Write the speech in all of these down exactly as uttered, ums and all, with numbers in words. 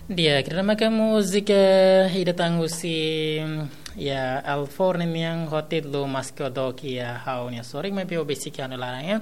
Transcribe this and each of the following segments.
Di'ak, ida-ne'e maka múzika ida tan husi, ya, Alfor nian ho títulu Maske Ó Dook Iha Ha'u-nia Sorin, maibé ó besik iha ha'u-nia laran, ya.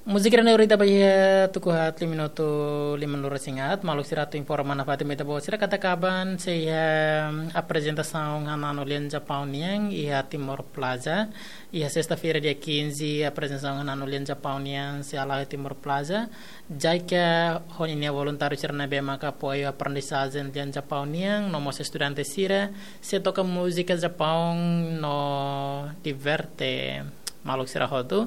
Múzika ida-ne'e lori ita ba iha tuku haat lima minutu limanulu-resin-haat, maluk sira atu informa nafatin ba ita-boot sira katak aban sei iha aprezentasaun hananu lian Japaun nian iha Timor Plaza, iha sesta-feira dia quinze, aprezentasaun hananu lian Japaun nian sei hala'o iha Timor Plaza. JICA ho ninia voluntáriu sira ne'ebé maka apoiu aprendizajen lian Japaun nian, no mós estudante sira, sei toka múzika Japaun no diverte maluk sira hotu.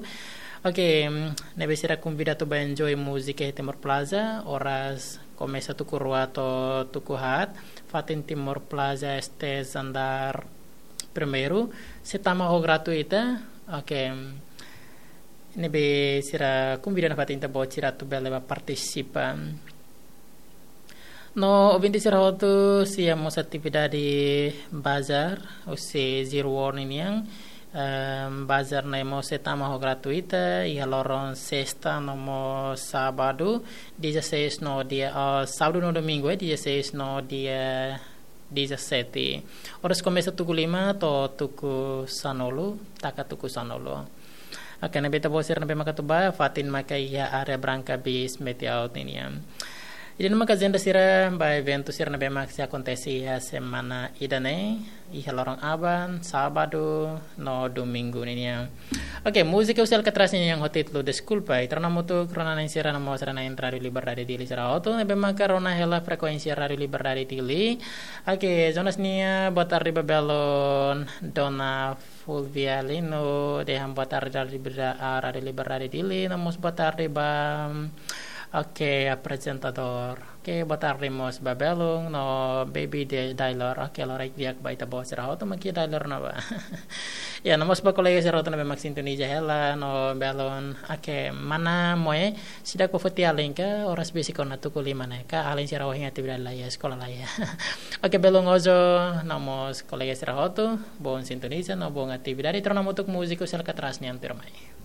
Oke, mm, ne'ebé sira konvida atu ba enjoy múzika iha Timor Plaza, oras komesa tuku rua to'o tuku haat, fatin Timor Plaza, stage andár primeiru, sei tama ho gratuita. Oke, mm, ne'ebé sira konvida nafatin ita-boot sira atu bele ba partisipa. No ouvinte sira hotu, sei iha mós atividade bazar, husi Zero War ninian. Ehm, bazar ne'e mós sei tama ho gratuita, iha loron sesta no mós sábadu, dezasseis no dia, ah, sábadu no domingu, eh, dezasseis no dia dezassete. Oras komesa tuku lima to'o tuku sanulu, taka tuku sanulu. Oke, ne'ebé ita-boot sira ne'ebé maka atu ba, fatin maka iha área Branca Bis Meeting Out ninian. Ida-ne'e maka ajenda sira ba eventu sira ne'ebé maka sei akontese iha semana ida-ne'e, iha loron aban, sábadu no domingu ninian. Oke, múzika husi Alcatraz nian ho títulu Deskulpa, ita rona hamutuk rona-na'in sira no mós rona-na'in Rádiu Liberdade Dili sira hotu ne'ebé maka rona hela frekuénsia Rádiu Liberdade Dili. Oke, Jonas nia boa tarde ba belun, Dona Fulvia Lino, dehan boa tarde Rádiu Liberdade, ah, Rádiu Liberdade Dili, no mós boa tarde ba, oke, aprezentadór. Oke, boa tarde mós ba belun, no Baby de Dailor. Oke, loraik di'ak ba ita-boot sira hotu, mak iha Dailor ne'ebá. Ya, no mós ba kolega sira hotu ne'ebé mak sintoniza hela, no belun. Oke, mana Moe, seidauk ba foti alin ka, oras besik ona tuku lima ne'e ka, alin sira ohin atividade laiha, eskola laiha. Oke, belun Ozo, no mós kolega sira hotu, boun sintoniza, no boun atividade, ita rona hamutuk múzika husi Alcatraz nian tuirmai.